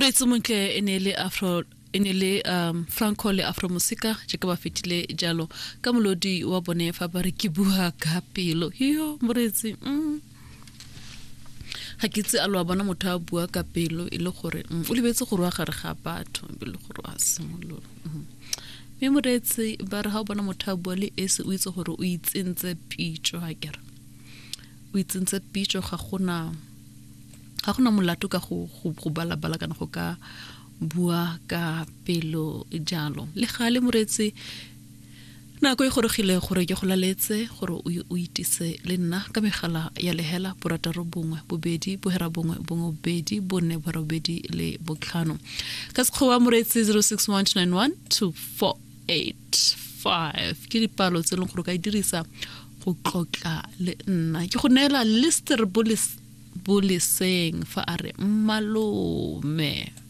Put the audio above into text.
Moreetsi montle e ne e le afro e ne le um franco le afro mosika jaaka ba fetile jalo ka molodi wa bone fa ba re ke bua ka pelo yo moreetsi mm. ga ke itse a lo a bona motho a bua ka pelo e le gore mm, o lebetse gore wa gare ga batho e le gore a simolola mm. mme moreetsi ba re ga o bona motho a bua le esi o itse gore o itsentse pitso ga kere o itsentse pitso ga gona ga gona molato ka go go balabala kana go ka bua ka pelo jalo le gale moreetsi nako e gorogile gore ke go laletse gore o itise le nna ka megala ya lehela borataro bongwe bobedi bohera bongwe bongwe bobedi bone borobedi le botlhano ka sekgowa moreetsi 0619912485 ke dipalo tse e leng gore o ka e dirisa go tlotla le nna ke go neela lister boleseng fa a re mmalome.